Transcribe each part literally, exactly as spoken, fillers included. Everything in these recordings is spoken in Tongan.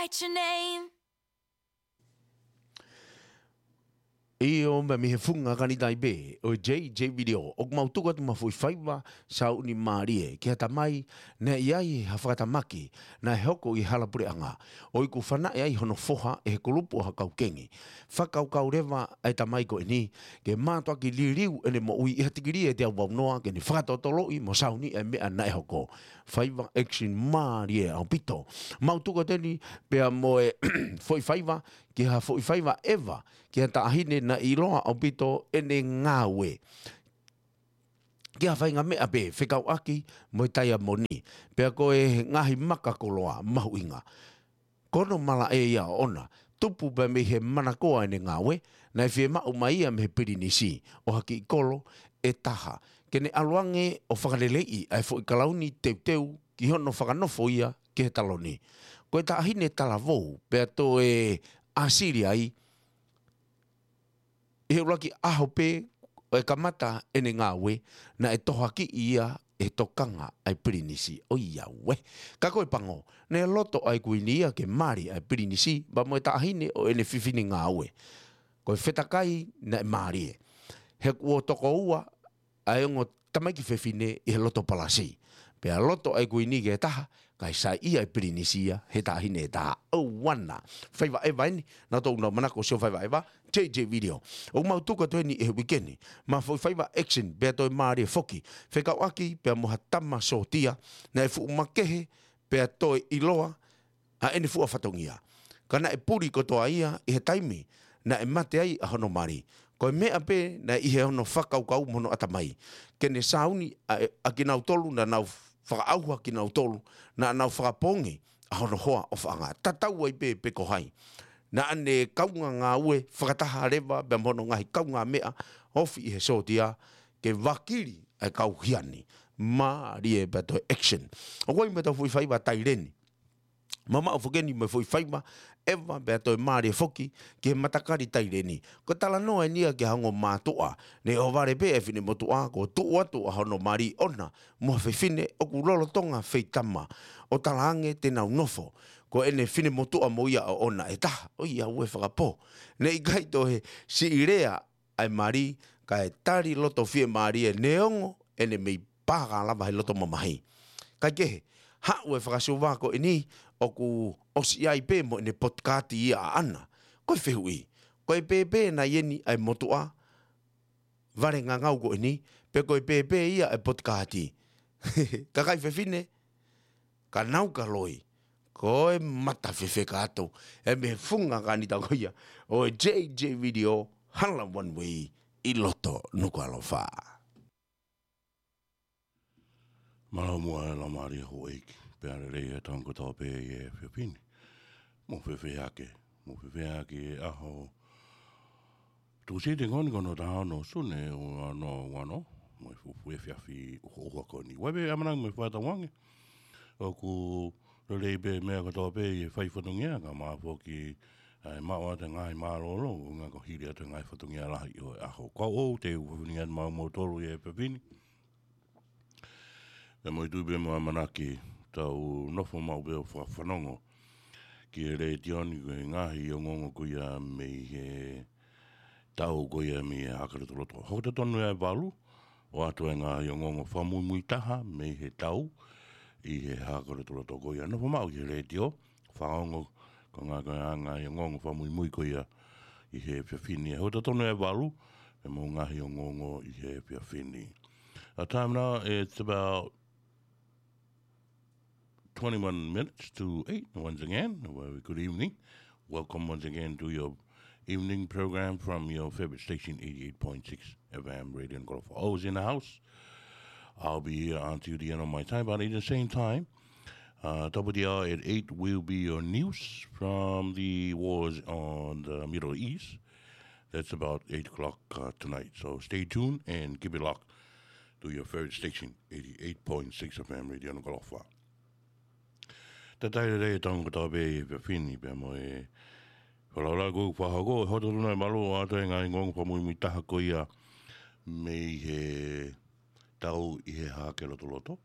What's your name? ʻIo, mei he funga Kanitai pē, ʻo e J J Video, ʻoku mau tuku atu mo ha foʻi faiva sauni mālie ki ha tamai naʻe ʻi ai ha fakatamaki naʻe hoko ʻi he hala puleʻanga, ʻo iku fanaʻi ai hono foha ʻe he kulupu ʻo ha kau kengi. Fakakaukau leva ʻa e tamai ko eni ke mātuʻaki liliu ʻene moʻui ʻi ha tikilī ʻe teau vau noa ke ne fakatotoloʻi mo sauni ʻa e meʻa naʻe hoko. Faiva action mālie ʻaupito. Mau tuku atu eni pea mo e foʻi faiva, ki ha foʻi faiva ʻeva ki ha taʻahine naʻe ʻiloa ʻaupito ʻene ngāue ki ha faʻahinga meʻa pē fekauʻaki mo e taiamoni, pea ko e ngaahi maka koloa mahuʻinga. Ko hono malaʻe ia ʻoʻona, tupu pē mei he manakoa ʻene ngāue, naʻe fiemaʻu mai ia mei he pilinisi ʻo ha kiʻi kolo ʻe taha, ke ne ʻalu ange ʻo fakaleleiʻi ʻa e foʻi kalauni teuteu ki hono fakanofo ia ki he taloni. Ko e taʻahine talavou, pea toe ʻāsili ai, ʻi he ʻuluaki ʻaho pē ʻo e kamata ʻene ngāue, naʻe tohoakiʻi ia ʻe he tokanga ʻa e pilinisi. ʻOiauē. Ka ko e pango, naʻe loto ʻa e kuini ia ke mali ʻa e pilinisi pea mo e taʻahine ʻo ʻene fefine ngāue. Ko e fetakai naʻe mālie, he kuo tokoua ʻa e ongo tamaiki fefine ʻi he loto palasi. Pea loto ʻa e kuini ki he taha, kae saiʻia ʻa e pilinisi ia he taʻahine ʻe taha. ʻOuana. Faiva ʻeva eni, naʻa tau nau manako sio faiva ʻeva, J J Video. ʻOku mau tuku atu eni ʻi he uike ni mo ha foʻi faiva action pea toe mālie foki, fekauʻaki pea mo ha tama sōtia naʻe fuʻu makehe pea toe ʻiloa ʻa ʻene fuʻu fatongia. Ka naʻe puli kotoa ia ʻi he taimi naʻe mate ai ʻa hono mali. Ko e meʻa pē naʻe ʻi he hono fakakaukau mo hono ʻatamai, ke ne sauni ʻa e, ʻa kinautolu naʻa nau fakaʻauha kinautolu, naʻa nau fakapoongi ʻa hono hoa ʻofaʻanga. Tatau ai pē pe ko hai. Naʻa ne kaungā ngāue fakataha leva pea mo hono ngaahi kaungāmeʻa ofi ʻi he sōtia ke vakili ʻa e kau hia ni. Mālie pea toe action. ʻOku ʻi ai mo e tau foʻi faiva taileni. Mamaʻo foki eni mo e foʻi faiva ʻeva pea toe mālie foki ki he matakali taileni. Ko e talanoa eni ia ki ha ongo mātuʻa naʻe ʻohovale pē ʻa e finemotuʻa kuo tuʻu atu ʻa hono mali ʻoʻona mo ha fefine ʻoku lolotonga feitama, ʻo talaange te nau nofo ko ʻene finemotuʻa mo ia ʻoʻona ʻe taha. ʻOiauē fakapō. Naʻe ʻikai toe siʻi lea ʻa e mali, kae tali loto fiemālie neongo ʻene mei pā ka lava he loto mamahi. Kae kehe, haʻu e fakasuva ko eni ʻoku ʻosi ʻi ai pē mo ʻene potikaati ia ʻaʻana. Ko e fehuʻi, ko e pēpē nai eni ʻa e motuʻa vale ngangau ko eni, pe ko e pēpē ia ʻa e potikaati? Kakai fefine, ka nau ka loi, ko e mata fefeka atu ē mei he funga Kanitai ko ia ʻo e J J Video, hala one way ʻi loto Nukuʻalofa. Mālō muʻa e laumālie houʻeiki, pea lelei e tau kotoa pē ʻi he efiafi ni. Mou fēfē hake, mou fēfē hake ʻi he ʻaho Tūsite ko eni ko hono taha ono Sune ua noa ua noa, mo e fuʻu efiafi ʻuhoʻuha ko eni. ʻOku ʻi ai pē ʻamanaki mo e fakatauange ʻoku lelei pē meʻa kotoa pē ʻi he fai fatongia, kae ʻumaʻā foki ʻa e maʻu atu e ngaahi mālōlō, ʻuhinga ko e hili atu e ngaahi fatongia lahi ʻo e ʻaho. Ko au ʻoku ou teu fatongia atu maʻa moutolu ʻi he efiafi ni. Pea mo e tui pē mo e ʻamanaki, tau nofo maʻu pē ʻo fakafanongo ki he letiō ni ko e ngaahi ongoongo ko ia mei he tau ko ia mei he Hahake Lotoloto. Hoko totonu ia ʻe valu, ʻoatu e ngaahi ongoongo fakamuimui taha mei he tau ʻi he Hahake Lotoloto ko ia. Nofo maʻu ki he letiō, fakaongo, ko e ngaahi, ko e ngaahi ongoongo fakamuimui ko ia ʻi he efiafi ni. Hoko totonu ia ʻe valu, pea mo e ngaahi ongoongo ʻi he efiafi ni. Our time now, it's about twenty-one minutes to eight. Once again, a very good evening. Welcome once again to your evening program from your favorite station, eighty-eight point six F M Radio Nukuʻalofa. Always in the house. I'll be here until the end of my time, but at the same time, uh, top of the hour at eight will be your news from the wars on the Middle East. That's about eight o'clock, uh, tonight. So stay tuned and keep it locked to your favorite station, eighty-eight point six F M Radio Nukuʻalofa. Talitali lelei e tau kotoa pē ʻi he efiafi ni pea mo e fakalaulauloto kuo fakahoko, hoko totonu ʻe valu, ʻoatu e ngaahi ongoongo fakamuimui taha ko ia mei he tau ʻi he Hahake Lotoloto.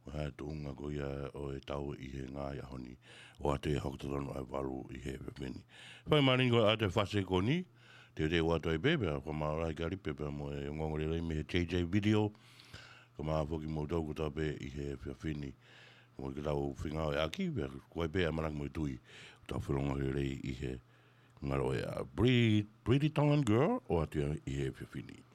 ʻO hā e tuʻunga ko ia ʻo e tau ʻi he ngaahi ʻaho ni. ʻOatu ia ʻo hoko totonu ʻa e valu ʻi he efiafi ni. Fai mālie ko ʻete fasi ko eni, te te ʻoatu ai pē, pea fakamālō ai ki Alipe, pea mo e ongoongo lelei mei he J J Video. Ka mā foki mo tau ko tau pē ʻi he efiafi ni. Mo ke tau feinga ʻo e ʻaki, pea ko e pē ʻamanaki mo e tui. Tau felonga lelei ʻi he ngalo e a Pretty, Pretty Tongan Girl, ʻoatu ia ʻi he efiafi ni.